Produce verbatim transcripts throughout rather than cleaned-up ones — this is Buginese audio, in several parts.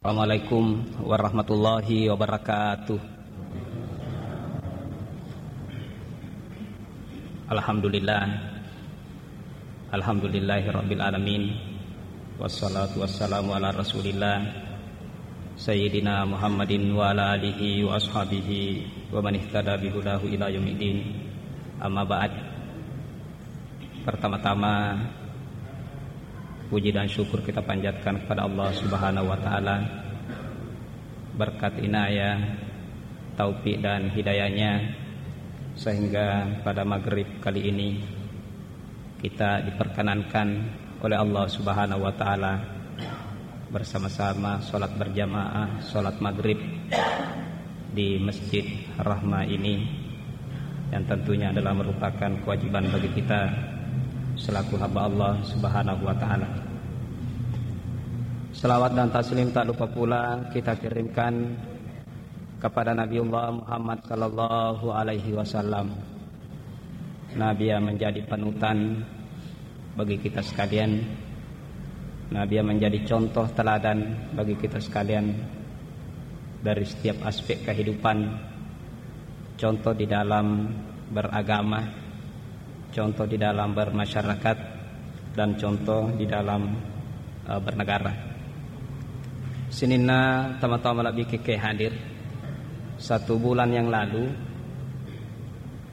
Assalamualaikum warahmatullahi wabarakatuh. Alhamdulillah. Alhamdulillahirabbil alamin. Wassalatu wassalamu ala Rasulillah Sayyidina Muhammadin wa ala alihi wa ashabihi wa man ihtada bihudahu ila yaumiddin. Amma ba'd. Pertama-tama, puji dan syukur kita panjatkan kepada Allah Subhanahu wa Ta'ala. Berkat inayah, taufik, dan hidayahnya, sehingga pada maghrib kali ini kita diperkenankan oleh Allah Subhanahu wa Ta'ala bersama-sama sholat berjamaah, sholat maghrib di Masjid Rahma ini, yang tentunya adalah merupakan kewajiban bagi kita selaku hamba Allah Subhanahu wa Ta'ala. Selawat dan taslim tak lupa pula kita kirimkan kepada Nabiullah Muhammad sallallahu alaihi wasallam. Nabi yang menjadi panutan bagi kita sekalian. Nabi yang menjadi contoh teladan bagi kita sekalian dari setiap aspek kehidupan. Contoh di dalam beragama, contoh di dalam bermasyarakat, dan contoh di dalam, eh, bernegara. Sininna tama-tama lebih keke hadir. Satu bulan yang lalu,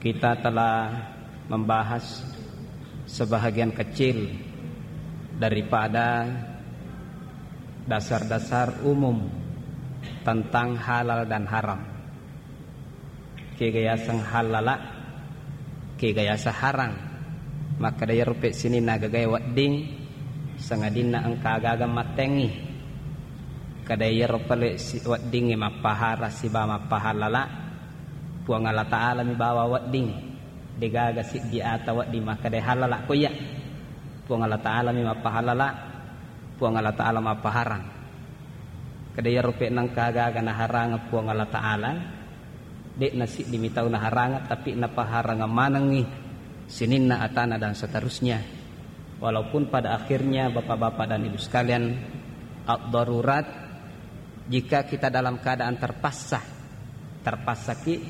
kita telah membahas sebahagian kecil daripada dasar-dasar umum tentang halal dan haram. Kega yaseng hallala, kega yaseng harang. Makkeda iyaro pe sininna gagae wedding, sangadinna engka aga-aga mattengngi. Kada iyaro pale si-, weddingnge mappaharang sibawa mappahallala, Puang Allah Ta'ala mi bawa wedding. Degaga siddi ata wedding makkeda hallala ko iya. Puang Allah Ta'ala mi mappahallala, Puang Allah Ta'ala mappaharang. Kada iyaro pe nengka aga-aga naharangeng Puang Allah Ta'ala, de'na siddi mi tau naharangeng, tapi napaharangeng manengngi sininna atana dan seterusnya. Walaupun pada akhirnya, Bapak-bapak dan Ibu sekalian, ad-darurat, jika kita dalam keadaan terpaksa, terpaksaki,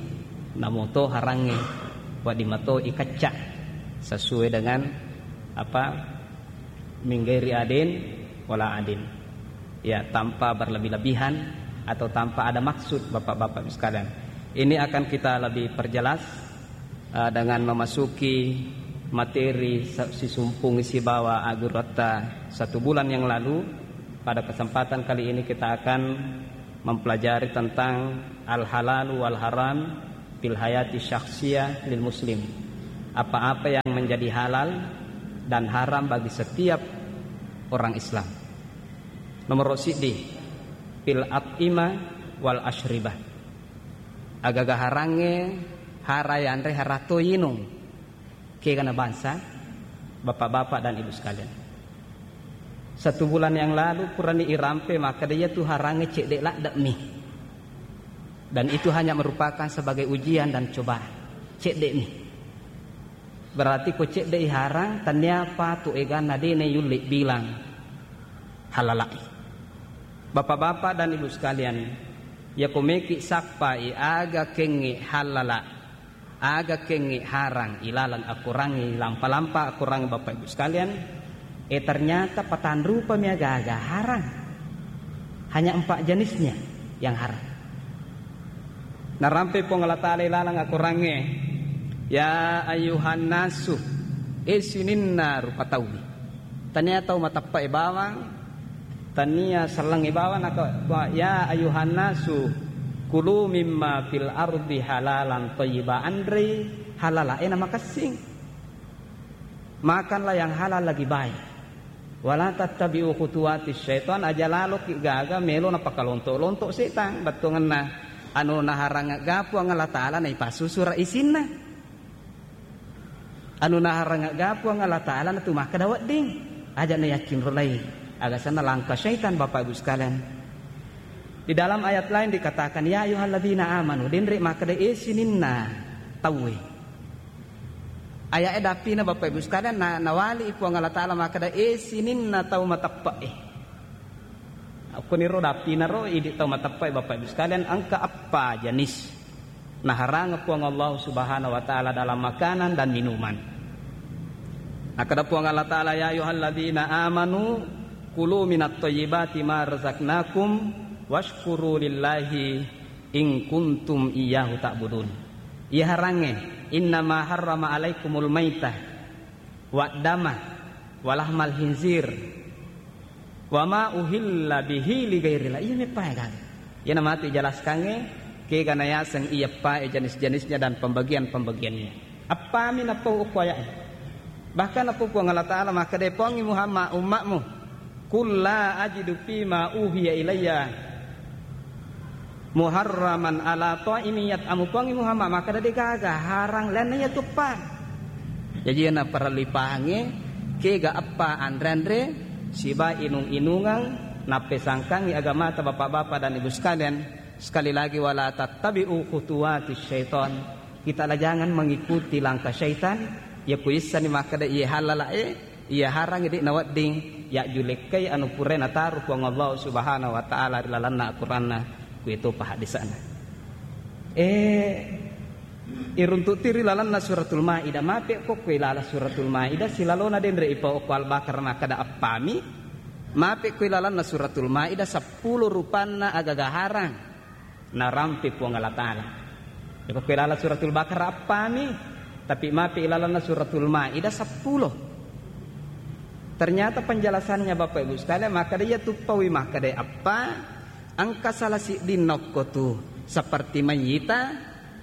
namoto harangnge, wedding mato ikecca sesuai dengan apa, min ghairi adin wala adin. Ya, tanpa berlebih-lebihan atau tanpa ada maksud, Bapak-bapak sekalian. Ini akan kita lebih perjelas, eh, dengan memasuki materi sa-, sisumpung sibawa agurutta satu bulan yang lalu. Pada kesempatan kali ini kita akan mempelajari tentang al-halalu wal haram fil hayati syakhsiyah lil muslim. Apa-apa yang menjadi halal dan haram bagi setiap orang Islam. Nomor siddi, fil at'imah wal asyribah. Agaga harangnge, hara yanre, harato yinung. Kegana bangsa, Bapak-bapak dan Ibu sekalian. Satu bulan yang lalu, purani irampe, makkeda iyatu harangnge cedde ladde'mi. Dan itu hanya merupakan sebagai ujian dan cobaan. Cedde'mi. Berarti ko cedde'i harang, tania patu eganna dene yulle bilang halala'i. Bapak-bapak dan Ibu sekalian, yako meki sappai aga kengnge halala, aga kengnge harang ilaleng akorangnge, lampa-lampa akorangnge Bapak Ibu sekalian, eh, ternyata patanrupami aga-aga harang. Hanya empat jenisnya yang haram. Narampe Puang Allah Ta'ala ilaleng akorangnge, "Ya ayyuhan nasu, eh sininna rupa tauwi." Tania tau mateppe'e bawang, tania sellengnge bawang, naka, "Ya ayyuhan nasu, kulu mimma fil ardi halalan thayyiba." Anrei halalae na makessing. Makanlah yang halal lagi baik. Wala tattabi'u khutuwati syaitan, aja laloki gaga melo napakalonto-lonto setang, bettuangenna anu naharangegga Puang Allah Ta'ala naipassusura isinna. Anu naharangegga Puang Allah Ta'ala natu makkeda wedding. Aja nayakkinrolai. Aga senna langkah syaitan, Bapak Ibu sekalian. Di dalam ayat lain dikatakan, "Ya ayyuhalladzina amanu," denre makkeda, "Eh sininna tauwe." Aya'e dappina, Bapak Ibu sekalian, na-, nawali Puang Allah Ta'ala makkeda, "Eh sininna tau mateppe'e." Okkoniro dappinaro idi tau mateppai, Bapak Ibu sekalian, engka eppa jenis naharangeng Puang Allah Subhanahu wa Ta'ala dalam makanan dan minuman. Nakkeda Puang Allah Ta'ala, "Ya ayyuhalladzina amanu kulu minat thayyibati ma razaqnakum washkuru lillahi in kuntum iyyahu ta'budun." Iya harangnge, "Innama harrama alaikumul maitah waddama walahmal hinzir wama uhilla bihi ligairillah." Iya meppae gaga. Iyana matu ijelaskangnge kega nayaseng iya pae jenis-jenisnya dan pembagian-pembagiannya. Appami napau okko aya'e. Bahkan napau Puang Allah Ta'ala makkeda, "Pongi Muhammad, ummatmu, qul la ajidu fima uhiya ilayya muharraman ala ta'imin yat'amu." Pongi Muhammad makkeda, degaga harang lainna iya tuppa. Jaji na parellu ipahangnge kega eppa anre-anre siba inung-inungang nappesangkangi agamata, Bapak-bapak dan Ibu sekalian. Sekali lagi, wala tattabi'u khutuwati syaitan. Kita la jangan mengikuti langkah syaitan. Ya kuissani makkeda iya halala e, iya harang idi nawedding ya julekkai anu purae nataru Puang Allah Subhanahu wa Ta'ala ri lalanna Al-Qur'anna, kuetopa hadisana. Eh, iruntu'ti ri lalanna Suratul Maidah, mape ko kue lala Suratul Maidah, silalona denre ipa okko Al-Baqarah makkeda appami, mape kue lalanna Suratul Maidah seppulo rupanna agaga harang narampe Puang Allah Ta'ala. Iko kue lala Suratul Baqarah appami, tapi mape ilalanna Suratul Maidah seppulo. Ternyata penjelasannya, Bapak Ibu sekalian, makkeda iya tuppawi makkeda appa, engka salah sidding nokko tu seperti mayyita,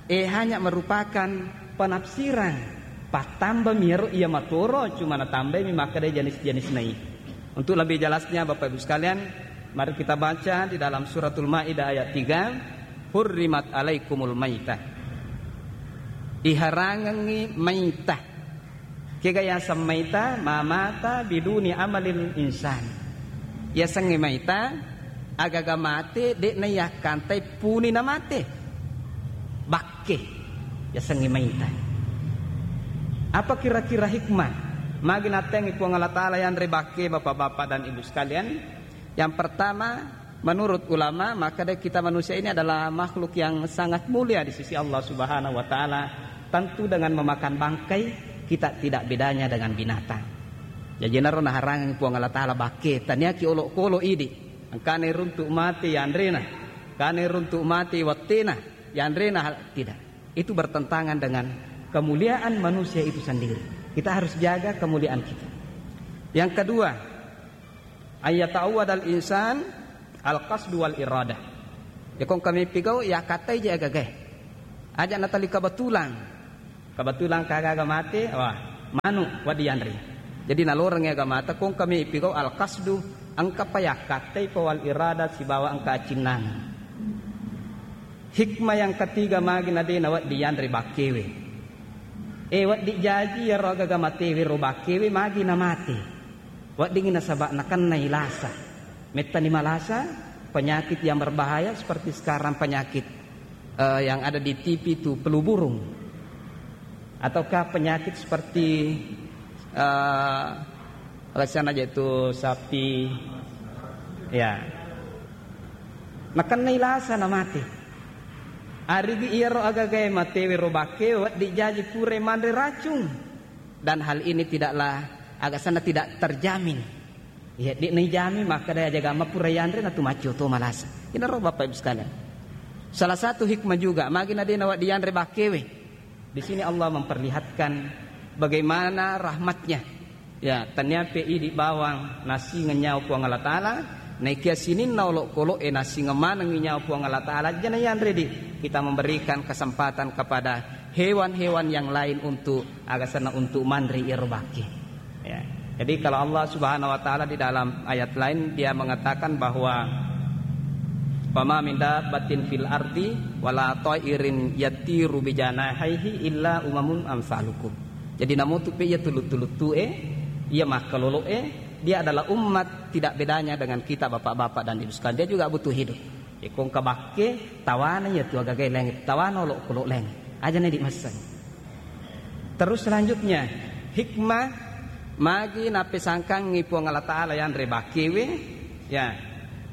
eh, hanya merupakan penafsiran. Pattambami ero iya matoro, cuma natambaimi makkeda jenis-jenis nai. Untuk lebih jelasnya, Bapak Ibu sekalian, mari kita baca di dalam Suratul Maidah ayat tiga, "Hurrimat alaikumul maitah." Iharangengngi maitah. Kega yaseng maita? Ma mata biduni amalil insan. Yasengnge maita, agaga mate, de'na yakkantai puni na mate. Bakke yasengnge maita. Apa kira-kira hikmah magi nattengngi Puang Allah Ta'ala yanre bakke, Bapak-bapak dan Ibu sekalian? Yang pertama, menurut ulama, maka dari kita manusia ini adalah makhluk yang sangat mulia di sisi Allah Subhanahu wa Ta'ala. Tentu dengan memakan bangkai, kita tidak bedanya dengan binatang. Jaji naro naharang Puang Allah Ta'ala bakke, taniaki olok-kolok idi. Engkana runtuk mati yanrena, engkana runtuk mati wattena yanrena, hal tidak. Itu bertentangan dengan kemuliaan manusia itu sendiri. Kita harus jaga kemuliaan kita. Yang kedua, ayyata'awwadal insan al-qasdu wal iradah. Ya kong kami pigau, ya katai je agagae. Aja natali kebetulan. Kebetulan kagaga mate, wah, manu wadi yanri. Jadi naloreng ya gamata, kong kami pigau al-qasdu, engka pa ya katai pa wal iradah sibawa engka acinnang. Hikmah yang ketiga magi na de na wedding yanre bakkewe. Eh, wedding jaji yaro agaga matewe ro bakkewe magi na mate. Weddingngi nasaba nakennai lasa. Mettani malasa, penyakit yang berbahaya seperti sekarang penyakit, eh, yang ada di T V itu flu burung. Ataukah penyakit seperti, eh, alasan aja itu sapi, ya. Nakennai lasa na mate. Arigi iyaro agagae matewe ro bakke, wedding jaji pura manre racung. Dan hal ini tidaklah, agasanna tidak terjamin. Iya, di nai jami, maka daya jaga mapura yanre na tu maccio to malasa. Inaro Bapak Ibu sekalian. Salah satu hikmah juga, magi na de na wedding yanre bakkewe. Di sini Allah memperlihatkan bagaimana rahmatnya. Ya, taniape idi bawang nasingeng nyawa Puang Allah Ta'ala, naikia sininna olok-kolok e nasingeng manengngi nyawa Puang Allah Ta'ala, jana yanre di kita memberikan kesempatan kepada hewan-hewan yang lain untuk, agasanna untuk manre iyaro bakke. Ya. Jadi kalau Allah Subhanahu wa Ta'ala di dalam ayat lain dia mengatakan bahwa, "Wa ma min dabbatin fil ardi wala ta'irin yatiru bijanahaihi illa umamun amsalukum." Jadi namutu pe iya tuluttu-luttu e, iya makkalolo e, dia adalah umat tidak bedanya dengan kita, Bapak-bapak dan Ibu sekalian. Dia juga butuh hidup. Iko engka bakke, tawana iya tu agagae laingnge, tawana olok-kolok laingnge. Aja na idi masseng. Terus selanjutnya, hikmah magi napesangkangngi Puang Allah Ta'ala yanre bakkewe, ya.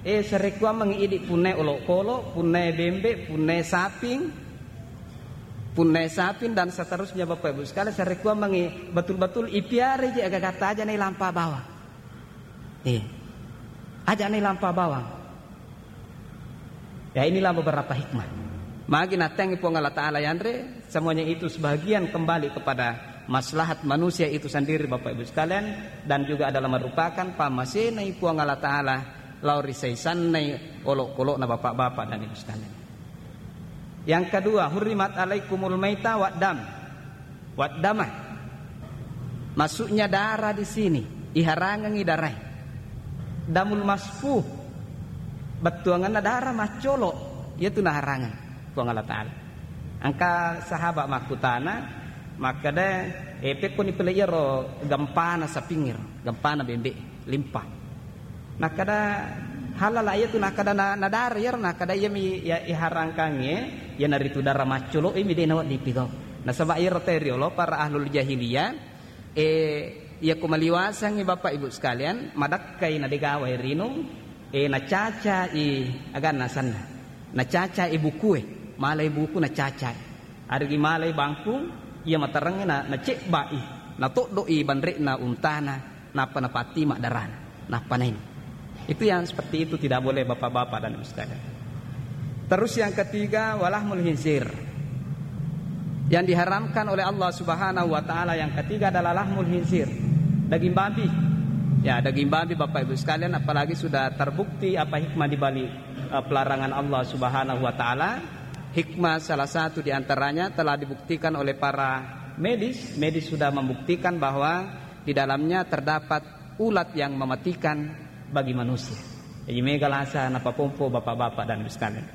Eh, sarekkuammengngi idi' punnae olokolo, punnae bembe', punnae saping, punnae saping dan seterusnya, Bapak Ibu sekalian, sarekkuammengngi betul-betul ipiara je aga-aga aja' nailampa bawang. Eh, aja' nailampa bawang. Ya, inilah beberapa hikmah. Magi natengngi Puang Allah Ta'ala yanre, semuanya itu sebagian kembali kepada maslahat manusia itu sendiri, Bapak Ibu sekalian, dan juga adalah merupakan pammasenai Puang Allah Ta'ala lao ri saisannai olokolo'na bapak-bapak dan ibu sekalian. Yang kedua, hurrimat alaikumul maita wa dam. Wa dama. Maksudnya darah di sini, iharangengngi darai. Damul masfuh, bettuangenna darah maccolo, iyatu naharangeng Puang Allah Ta'ala. Engka sahabat makkutana, makkeda, "Eh, pekkoni pele iyaro gempana sapingngiro, gempana bembe', limpa." Nakkeda, "Halala iyatu?" Nakkeda, "Na-, nadara iyaro." Nakkeda, "Iyami iya iharangkangnge, iyanaritu dara maccolo, imi de' nawedding pigau." Nasaba iyaro tau riolo para ahlul jahiliyah, eh, iyako maliwasangngi Bapak Ibu sekalian, madakkai na de' gawai rinung, eh, nacacai aganna asenna. Nacacai bukue, malai buku nacacai. Arigi malai bangkung, iya materengnge na, nacebba'i, natoddo'i banre'na untana, nappa napattima' darana, nappa nainung. Itu yang seperti itu tidak boleh, bapak-bapak dan ibu sekalian. Terus yang ketiga, walahmul khinzir. Yang diharamkan oleh Allah Subhanahu wa Ta'ala yang ketiga adalah lahmul khinzir, daging babi. Ya, daging babi, Bapak Ibu sekalian, apalagi sudah terbukti apa hikmah di balik, eh, pelarangan Allah Subhanahu wa Ta'ala. Hikmah salah satu di antaranya telah dibuktikan oleh para medis. Medis sudah membuktikan bahwa di dalamnya terdapat ulat yang mematikan bagi manusia. Jadi, mega lasa napapompo, bapak-bapak dan ibu sekalian.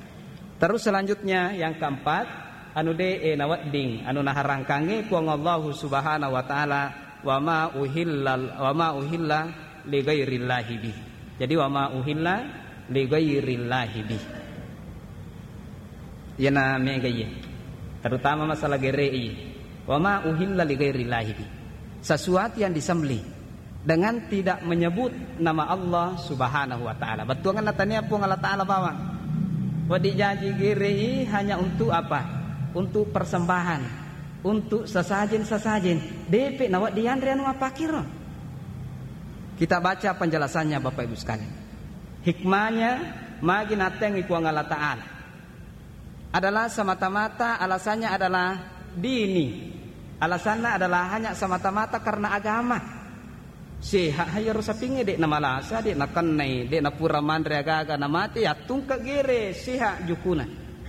Terus selanjutnya, yang keempat, anu de'e nawedding, anu naharangkangnge Puang Allahu Subhanahu wa Ta'ala, wa ma uhilla, wa ma uhilla li ghairillahi bih. Jadi, wa ma uhilla li ghairillahi bih. Iyana mega iye. Terutama masalah gere iye. Wa ma uhilla li ghairillahi bih. Sesuatu yang disembelih dengan tidak menyebut nama Allah Subhanahu wa Ta'ala. Bettuangenna tania Puang Allah Ta'ala bawang. Wedding jaji gere i hanya untuk apa? Untuk persembahan, untuk sesajen-sesajen. De'pe nawedding yanre anu apakiro. Kita baca penjelasannya, Bapak Ibu sekalian. Hikmahnya, magi natengngi Puang Allah Ta'ala adalah semata-mata alasannya adalah dini. Alasannya adalah hanya semata-mata karena agama. Sehat ha iyaro sapingnge, de' namalasa, de' nakennai, de' napura manre aga-aga namate, yattungka gere, sehat jukuna.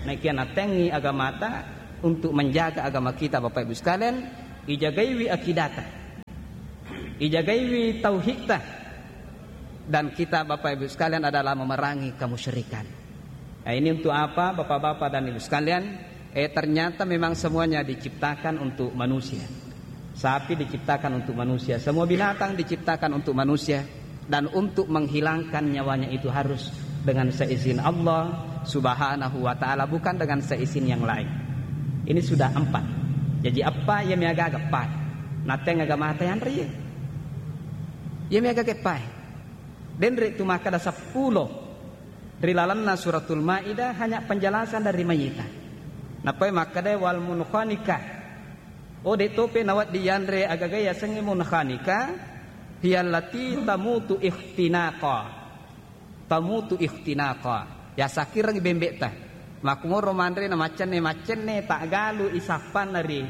Naikia natengngi agamata untuk menjaga agama kita, Bapak Ibu sekalian, ijagaiwi akidata, ijagaiwi tauhidta, dan kita, Bapak Ibu sekalian, adalah memerangi kemusyrikan. Nah, ini untuk apa, Bapak-bapak dan Ibu sekalian? Eh, ternyata memang semuanya diciptakan untuk manusia. Sapi diciptakan untuk manusia, semua binatang diciptakan untuk manusia, dan untuk menghilangkan nyawanya itu harus dengan seizin Allah Subhanahu wa Ta'ala, bukan dengan seizin yang lain. Ini sudah empat. Jaji eppa iya miaga-aga eppa. Nateng aga mate anre iye. Iya miaga-aga eppa. Denre tu makkeda seppulo. Ri lalenna Suratul Maidah hanya penjelasan dari mayita. Nappai makkeda wal munkhaniqah. Oh, de' tope nawedding yanre agaga yasengnge munkhaniqah, hiyallati tamutu ikhtinaqa. Tamutu ikhtinaqa. Yasakkirengngi bembe'ta. Makkumoro manre na maccenne-maccenne, ta'galu isappanna ri,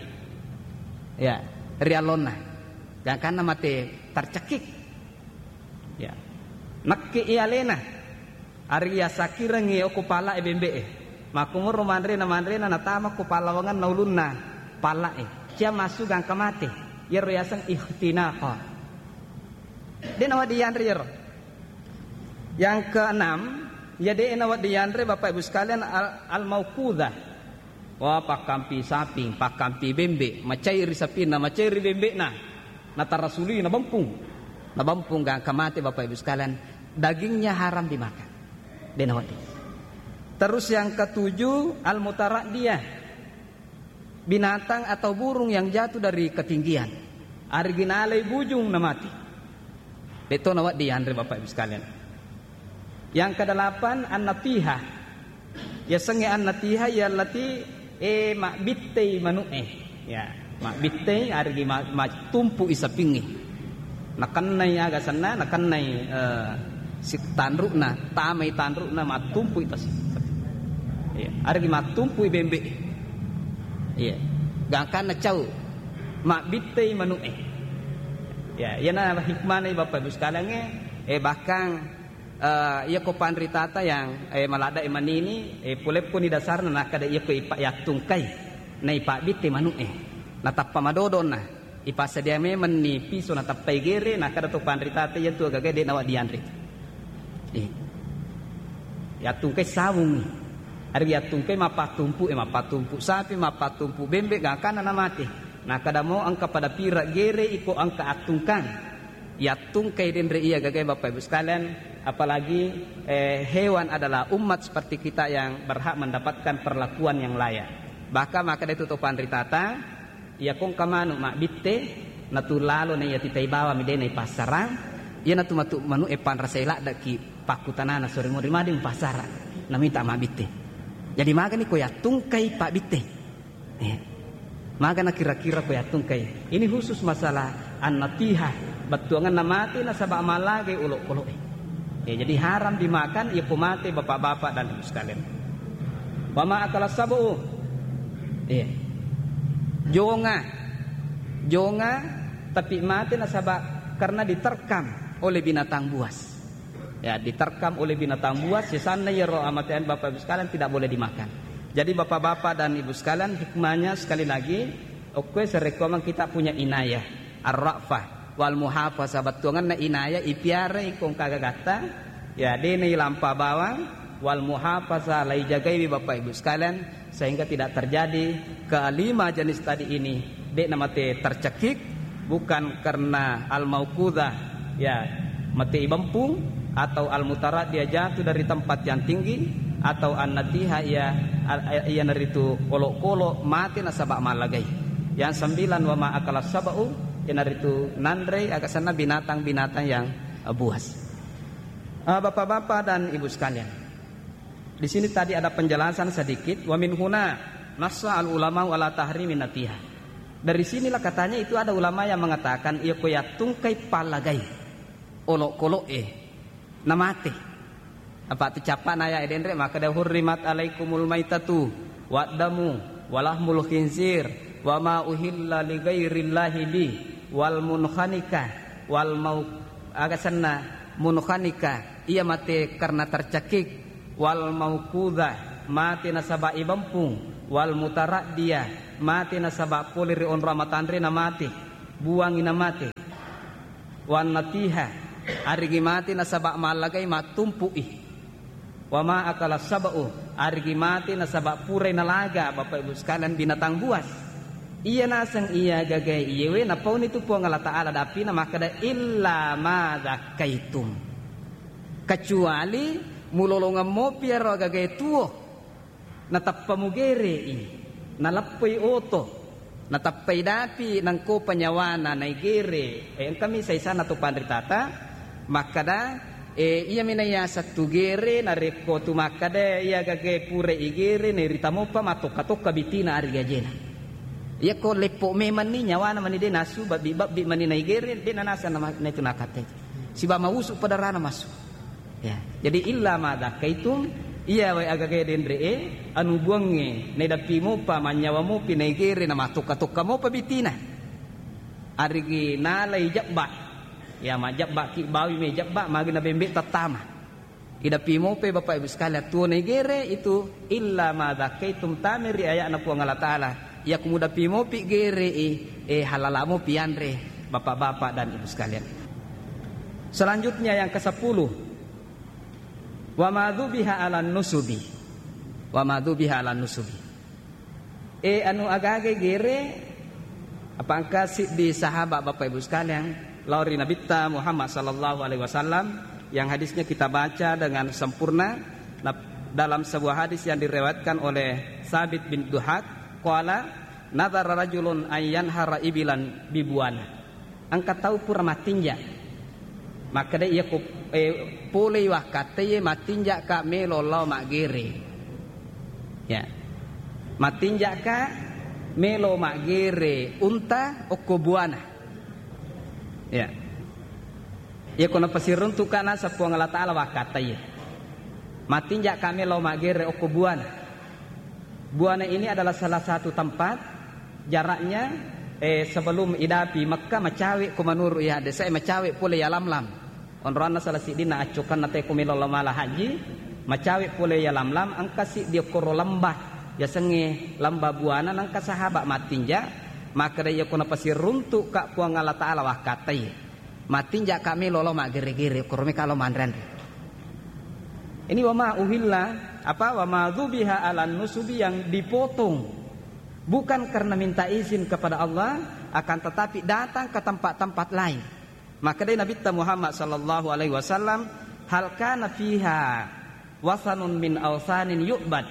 ya, ri allonna. Gangkanna mate tercekik. Ya. Nekke i alena. Ari yasakkirengngi okko palae bembe'e. Makkumoro manrena-manrena natama ko pallawangenna ulunna palae. Cia massu gangka mate. Iyaro yaseng ikhtinaqo. De' nawedding yanre iyaro. Yang keenam, ya de' nawedding yanre, Bapak Ibu sekalian, al-, al-mauqudhah. Wah, pakkampi saping, pakkampi bembe', macairi sapinna, macairi bembe'na. Natarasuli, nabempung. Nabempung gangka mate, Bapak Ibu sekalian, dagingnya haram dimakan. De' nawedding. Terus yang ketujuh, al-mutaraddiyah. Binatang atau burung yang jatuh dari ketinggian. Arigi nalai bujung na mati. De' to nawedding yanre, Bapak Ibu sekalian. Yang kedelapan, an-natihah. Yasengnge an-natihah, yallati, eh, mabbittei manu'e. Ya, mabbittei, arigi ma-, mattumpu'i sapingnge. Nakennai aga senna, nakennai, eh, si-, tanru'na, tamai tanru'na, mattumpui tas-, sapi. Iya, arigi mattumpui bembe. Iya. Gangkanna cau, mabbittei manu'e. Ya, iyana hikmahna, Bapak Ibu sekalian, eh, bahkan, eh, iyako panritata yang, eh, maladde manini, eh, puleppuni dasarna, nakkeda iyako ipa-, yattungkai, naipabbitte manu'e, natappa madodonna, ipassedia memenni piso natappai gere, nakkeda to panritata, iyatu agaga de' nawa dianre. Eh. Yattungkai sawung. Ari yattungkai mappattumpu, eh, mappattumpu sapi, mappattumpu bembe, gangkanna namate. Nakkeda mo engka pada pira gere iko engka attungkang. Yattungkai denre iya gagai, Bapak Ibu sekalian, apalagi, eh, hewan adalah umat seperti kita yang berhak mendapatkan perlakuan yang layak. Bahkan makkeda itu to panritata, iyako engka manu mabbitte, natu lalo na iya titai bawang mi de' naipassarang, iyanatu matu manu'e panrasai laddeki pakkutanana, sore mori made mupassarang, namita mabbitte. Jadi magani ko yattungkai pabbitte. Eh. Magana kira-kira ko yattungkai. Ini khusus masalah an-natihah, bettuanganna mate nasaba mallagai olokolo'e. Ya, jadi haram dimakan, iya ko mate, Bapak-bapak dan Ibu sekalian. Wa ma akala sab'u. Iya. Jonga. Jonga, tapi mate nasaba karena diterkam oleh binatang buas. Ya, diterkam oleh binatang buas, sisanna iyaro amatean, Bapak Ibu sekalian, tidak boleh dimakan. Jadi Bapak-bapak dan Ibu sekalian, hikmahnya sekali lagi, okkoe sarekkoamang kita punya inayah, ar-ra'fah, wal muhafazah, bettuanganna inayah, ipiara iko engka gagatta, ya, de' nailampa bawang, wal muhafazah, laijagaiwi Bapak Ibu sekalian, sehingga tidak terjadi kelima jenis tadi ini, de' namate tercekik, bukan karena al-mauqudhah, ya, mate ibempung, atau al-mutaraddiyah, jatuh dari tempat yang tinggi, atau an-natihah, ya, al-, iyanaritu olokolo, mate nasaba mallagai. Yang sembilan, wa ma akala sab'u, iyanaritu nanrei aga senna binatang-binatang yang, eh, buas. Eh, Bapak-bapak dan Ibu sekalian, di sini tadi ada penjelasan sedikit, wa min huna nassa al-ulama ala tahrimin natihah. Dari sinilah katanya itu ada ulama yang mengatakan, iya ko yattungkai pallagai olokolo'e, namate. Apa tu cappana aya denre, makkeda, hurrimat alaikumul maitatu, waddamu, walahmul khinzir, wa ma uhilla li ghairillahi bi, wal munkhaniqah, wal mau-, aga senna, munkhaniqah, iya mate karena tercekik, wal mauqudhah, mate nasaba ibempung, wal mutaraddiyah, mate nasaba pole ri onrong amatanre namate, buangi namate. Wan natihah, arigi mate nasaba mallagai mattumpu'i. Wa ma akala sab'u, arigi mate nasaba purai nalaga, Bapak Ibu sekalian, binatang buas. Iya naseng iya gagai iyewe napauni tu Puang Allah Ta'ala, dapina makkeda, illa ma dzakkaitum. Kecuali mulolongeng mopi iyaro agagai tuo, natappa mugere'i, naleppoi oto, natappai dapi, nangkopa nyawana naigere. Eh, engkami saisana to panritata makkeda, eh, iyami naiaseng tu gere, narekko tu makkeda iya gagai pura igere, nairita mopa matokka-tokka bitina ari gajena. Iyako leppo memanni nyawana mani de nasu, babbi-babbi mani naigere, de nanaseng nama-, naitu nakatte. Siba mausu padarana masu. Ya, jadi illa ma dzakkaitum, iya wae agaga denre'e, anu buangnge, naidappi mopa, mannyawa mopi, naigere, namatokka-tokka mopa bitina. Arigi nalai jabba. Ya, majabba ki bawi me jabba, magi nabembe tattama. Idappi mope Bapak Ibu sekalian, tuo naigere itu illa ma dzakkaitum, tameri aya'na Puang Allah Ta'ala. Iya kumudappi mopi gere'i, eh, halala mopi anre, Bapak-bapak dan Ibu sekalian. Selanjutnya yang kesepuluh, wa ma dzubiha 'alan nusubi. Wa ma dzubiha 'alan nusubi. Eh, anu agaga gere, apa engka siddi sahabat, Bapak Ibu sekalian, lao ri Nabitta Muhammad sallallahu alaihi wasallam, yang hadisnya kita baca dengan sempurna. Nah, dalam sebuah hadis yang diriwayatkan oleh Sabit bin Duhak, qala, "Nadzara rajulun an yanhara ibilan bibuana." Engka tau pura mattinja. Makkeda, iya ko Eh, polei wakkattaie, mattinja'ka melo lao maggere. Ya. Mattinja'ka melo maggere unta okko buana. Ya. Iya ko napasiruntu'ka naseng Puang Allah Ta'ala wakkattaie. Mattinja'ka melo maggere okko buana. Buana ini adalah salah satu tempat jaraknya, eh, sebelum idapi Mekah macawe ko menurut ya hadis, eh, macawe pole ya Lamlam. Onroanna salah siddinna accokanna teko melo lao mala haji, macawe pole ya Lamlam, engka siddi okkoro lembah, yasengnge lembah buana, nengka sahabat mattinja, makkeda iya ko napasiruntu'ka Puang Allah Ta'ala wakkattaie. Mattinja'ka melo lao maggere-gere, okkoro meka lao manre-anre. Ini wa ma uhilla, apa, wa ma dzubiha 'alan nusubi, yang dipotong bukan karena minta izin kepada Allah, akan tetapi datang ke tempat-tempat lain. Makkedai Nabitta Muhammad sallallahu alaihi wasallam, "Hal kana fiha wasanun min ausanin yu'bad?"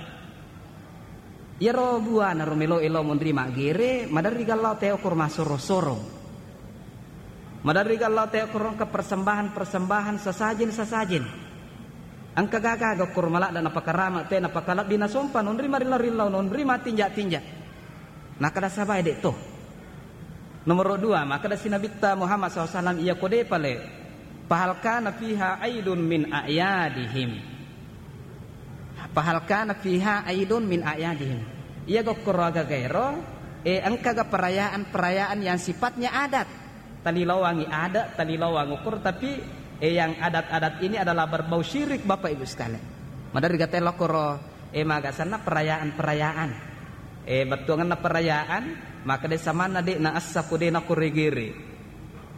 Iyaro buana ro melo lao monri maggere, maderri gallau tau okkoro massorong-sorong. Maderri gallau tau okkoro engka persembahan-persembahan, sesajen-sesajen. Engka gaga okkoro maladde napakarama, te napakalebbi nasompa, nonri marillau-rillau, nonri mattinja-tinja. Nakkeda sahabae, "De' to." Nomoro dua, makkeda si Nabitta Muhammad sallallahu alaihi wasallam, "Iya ko de' pale, fahal kana fiha aidun min a'yadihim?" Fahal kana fiha aidun min a'yadihim? Iya gokkoro aga gaero, eh, engkaga perayaan-perayaan yang sifatnya adat? Talilowangi adat, talilowang okkoro, tapi, eh, yang adat-adat ini adalah berbau syirik, Bapak Ibu sekalian. Maderri gatai lokkoro, eh, magasanna perayaan-perayaan. Eh, bettuanganna perayaan, makkeda samanna de' naessa ko de' nakoregere.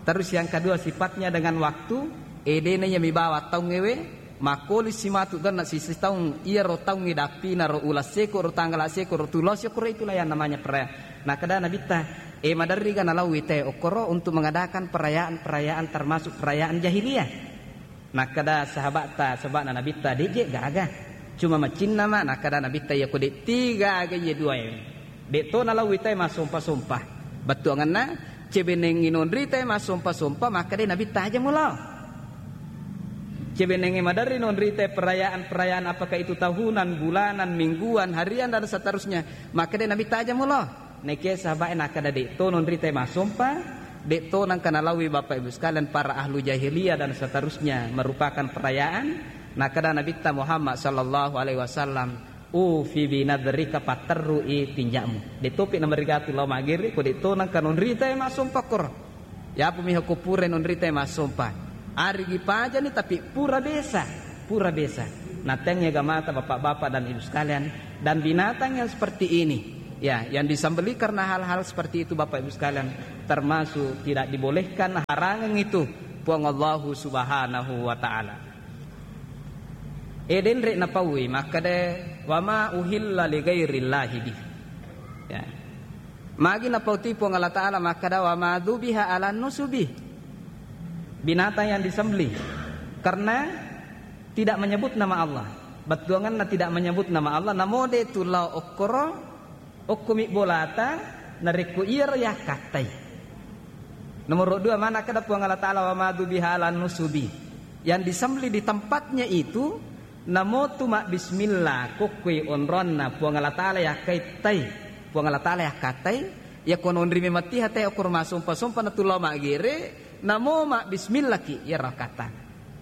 Terus yang kedua, sifatnya dengan waktu, eh, de' na iya mibawa taung ewe, makkoli simatu ganna sisi taung, iyaro taung edappina ro uleng seko ro tanggala seko ro tulo seko ro, itulah yang namanya perayaan. Nakkeda Nabitta, eh, maderriga nalaui te okkoro untuk mengadakan perayaan-perayaan termasuk perayaan jahiliyah? Nakkeda sahabatta, sahabana Nabitta, "De' je gaga. Cuma macinna ma." Nakkeda Nabitta, "Iya ko de' tiga aga iye dua e. De' to nalaui te massompa-sompa." Bettuanganna, cebenengngi nonri te massompa-sompa, makkeda Nabitta, "Aja mulao." Cebenengngi maderri nonri te perayaan-perayaan, apakah itu tahunan, bulanan, mingguan, harian, dan seterusnya. Makkeda Nabitta, "Aja mulao." Naikia sahabae nakkeda, "De' to nonri te massompa, de' to nengka nalaui Bapak Ibu sekalian para ahlu jahiliyah dan seterusnya merupakan perayaan." Nakkeda Nabitta Muhammad sallallahu alaihi wasallam, "Ufi binadrika, patterrui tinja'mu." De' topi namarigatu lao maggere ko de' to nengka nonri te massompa koro. Yapo miha ko pura nonri te massompa. Arigi pajani tapi pura besa, pura besa. Natengngi agamata Bapak-bapak dan Ibu sekalian, dan binatang yang seperti ini, ya, yang disembelih karena hal-hal seperti itu Bapak Ibu sekalian, termasuk tidak dibolehkan, harangang itu Puang Allahu Subhanahu wa Ta'ala. Eh, denre napaui, makkeda, "Wa ma uhilla li ghairillahi bih." Ya. Magi napauti Puang Allah Ta'ala makkeda, "Wa ma dzubiha 'alan nusubi." Binatang yang disembelih. Karena tidak menyebut nama Allah. Bettuanganna tidak menyebut nama Allah, namo de' tu lao okkoro, okko mibbolata, narekko iyaro yakkattai. Nomor dua, mana kada Puang Allah Ta'ala, "Wa ma dzubiha 'alan nusubi." Yang disembelih di tempatnya itu, namo tu mabbismillah, kokkoi onronna Puang Allah Ta'ala yakkaittai. Puang Allah Ta'ala yakkattai, iya ko nonri mematiha te okor masompa-sompa na tu lao maggere, namo mabbismillah ki, iyaro kata.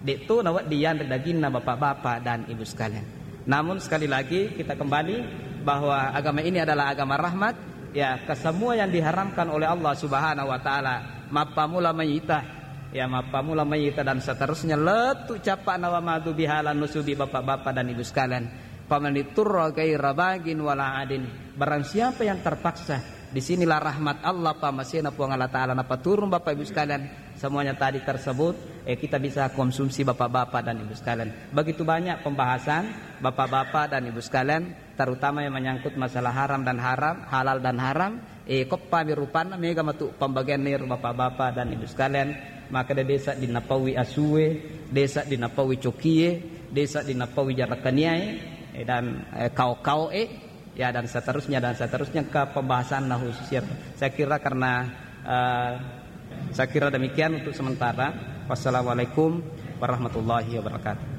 De'to nawedding yanre daginna, Bapak-bapak dan Ibu sekalian. Namun, sekali lagi, kita kembali bahwa agama ini adalah agama rahmat. Ya, kesemua yang diharamkan oleh Allah Subhanahu wa Ta'ala, mappamula mayita, ya, mappamula mayita dan seterusnya, lettu cappa'na wa ma dzubiha 'alan nusubi, Bapak-bapak dan Ibu sekalian. Faman itturra ghaira baghin wala adin. Barang siapa yang terpaksa, di sinilah rahmat Allah, pamasena Puang Allah Ta'ala napaturun, Bapak Ibu sekalian. Semuanya tadi tersebut, eh, kita bisa konsumsi, Bapak-bapak dan Ibu sekalian. Begitu banyak pembahasan, Bapak-bapak dan Ibu sekalian, terutama yang menyangkut masalah haram dan haram, halal dan haram. Eh, koppami rupanna, mega matu pembagian ero, Bapak-bapak dan Ibu sekalian. Maka de' desa dinapaui asue, desa dinapaui cokie, desa dinapaui jarakaniae, eh, dan, eh, kao-kaoe, ya, dan seterusnya, dan seterusnya, ke pembahasan khusus, ya. Saya kira karena, eh, saya kira demikian untuk sementara. Wassalamualaikum warahmatullahi wabarakatuh.